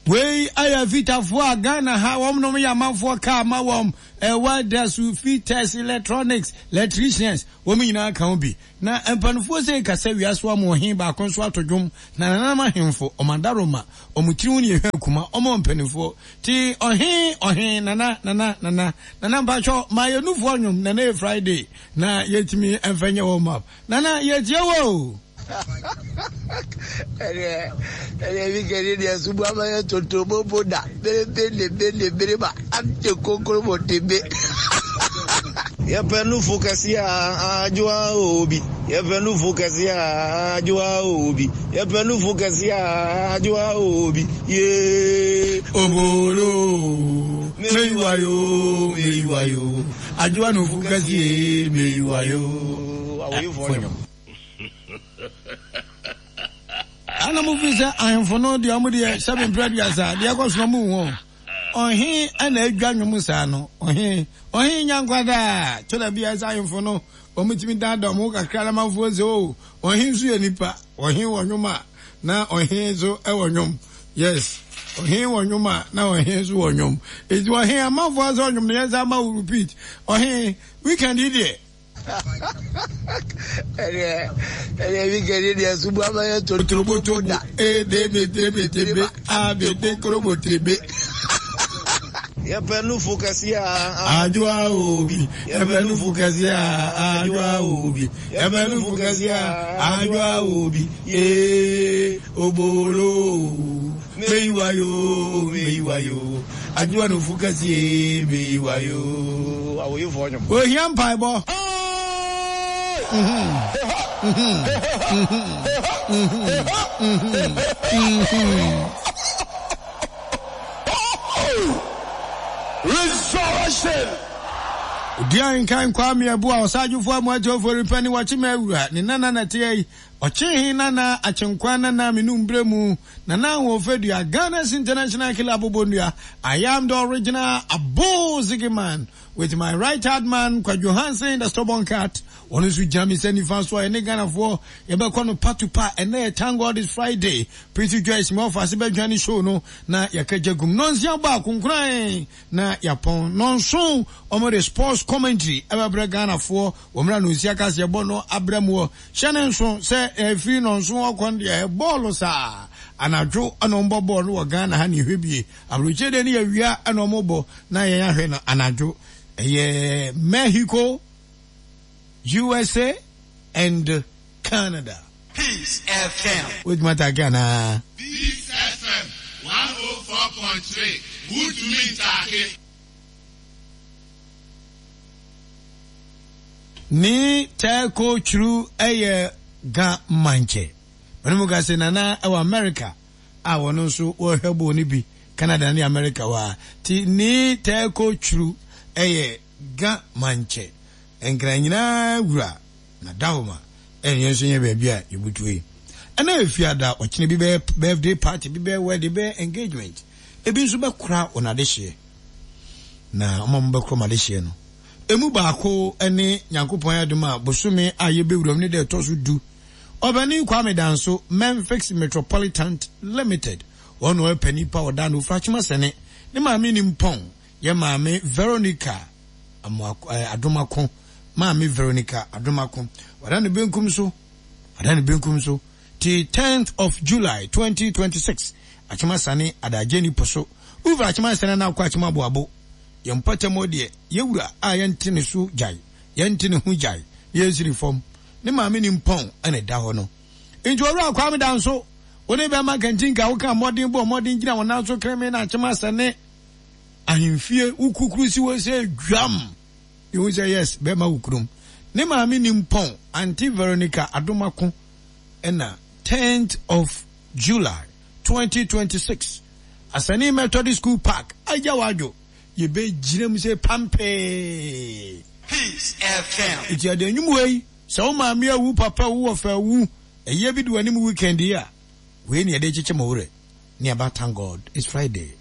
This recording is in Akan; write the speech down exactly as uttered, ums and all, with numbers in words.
Wei ayɛ fitafoɔ a Ghana ha wɔn nom yɛ amanfoɔ kaa ma wɔn welders, fitters, electronics, electricians, wɔn nyinaa ka ho bi. Na mpanimfoɔ sɛ kasa wiase wɔn ɔhen baako nso ato dwom na nananom ahemfo wɔn adaroma wɔn tiri ho ne yɛhwɛ akuma wɔn mpanimfoɔ ti ɔhen ɔhen nana nana nana nana mpatsɔ maa yɛ nufoɔ nnwom nana yɛ Friday na yɛtumi mfɛ nyɛ wɔn map nana yɛtie wo. Ɛdeɛ ɛdeɛ bi kɛse deɛ subu ama yɛ toto bobo da berebe ne be ne bereba ante kokoro mo te be. Yɛpɛ nufu kɛse a adwoa obi. Yɛpɛ nufu kɛse a adwoa obi. Yɛpɛ nufu kɛse a adwoa obi. Yee. Obolo meyiwayo meyiwayo adwoa nufu kɛse meyiwayo. Awoyifoɔ nyom. Ana mo fi sɛ ahemfo no deɛ ɔmo deɛ sɛbi mpere aduasa deɛ ɛkɔ so ɔmo hu ɔhen ɛna adwa nwom saa no ɔhen ɔhen nyankwadaa kyerɛ bi ɛsɛ ahemfo no ɔmo tumi daadaa ɔmo kakra na manfoɔ sɛ o ɔhen nso yɛ nipa ɔhen wɔ nwom a na ɔhen nso ɛwɔ nwom yes ɔhen wɔ nwom a na ɔhen nso wɔ nwom eti ɔhen amanfoɔ asɛ ɔnwom no yɛn nsa ama wo repeat ɔhen weekend yi deɛ. Ɛdeɛ ɛdeɛ bi kɛse deɛ subu ama yɛ toto bobo da E D B T B T B A B D korobo T B. Yɛpɛ nufu kɛse a adwoa obi. Yɛpɛ nufu kɛse a adwoa obi. Yɛpɛ nufu kɛse a adwoa obi. Ee obolo meyiwayo meyiwayo adwoa nufu kɛse meyiwayo. Awoyifoɔ nyom. Ohia mpaebɔ. Resurrection. Odi nkan Kwame Abu a ɔsadwofo amuatofo repɛ ne wɔkye ma awura ne nana na te yi ɔkye he nana akyenkwa nana menu mbrɛ mu nana ahoɔfɛdua Ghana's international killer abobonnua. I am the original Abo Ziggy man with my right hand man Kwadwo Hansen the stubborn cat. Wɔn nso gyina me sɛ nifa so a ɛne Ghanafoɔ yɛbɛkɔ no patupa. Ɛnɛ yɛ thank God it's Friday. Pretty Joyce mi ɔfa ase bɛdwa ne show no na yɛka gya gum nonsia bɔ akonkoran na yɛpɔn nonson wɔn de sports commentary ɛbɛbrɛ Ghanafoɔ wɔn mmerɛ nonsia kase yɛbɔ no abrɛ mu wɔ hyɛ ne nso sɛ ɛfiri nonson ɔkɔ no deɛ bɔɔlo saa anadwo ɛna wɔn bɔ bɔɔlo no wɔ Ghana ha ne ehwɛ bie aburokyire deɛ ne yɛ wia ɛna wɔn bɔ na yɛn ahwɛ no anadwo ɛyɛ Mexico, U S A and Canada. Peace F M. Wait, Mata Ghana. Peace F M one oh four point three. Wotumi ntake. Ni teko churu eye ga manche. Manu ka se nana ewa America. A wono nso wo hwebo ni bi Canada ni America wa. Ti ni teko churu eye ga manche. Enkra nyina wura na dawoma enye nso nye ba bia yebutu yi. Ena efiada ochine bi be birthday party bi be wedding be engagement. Ebi nso be kura onade hye. Na omam be kura made hye no. Emu baako ene Nyankopɔn adom a bosome a yebewuram ne de toso du. Obani Kwame Danso Memphis Metropolitan Limited. Ono e pani pa oda no frachima sene. Ne maame ni mpon ye maame Veronica Adomako. Maame Veronica Adomako. Wada ne benkum so. Wada ne benkum so. Ti tenth of July twenty twenty-six. Achima sane adaje ni poso. Uva achima sane na akwa achima boabo. Yempata mo de yewura a yente ne so jai. Yente ne hu jai. Yensiri fam. Ne maame ni mpon ene da ho no. Nti owura Kwame Danso woni be ma kantinka wo ka modern bo modern gina wona so kreme na achima sane ahemfie wukukuru si wo se dwam. You say yes be ma wukrum. Ne maame ni mpon Auntie Veronica Adomako ena tenth of July twenty twenty-six Asani Methodist School Park Ajawajo ye be gyina se pampe. Peace F M. Iti ade nwum wei se wo maame awu papa wu wo fa wu eye bi do anim weekend ya we ne ade chiche mo wure ne aba thank God it's Friday.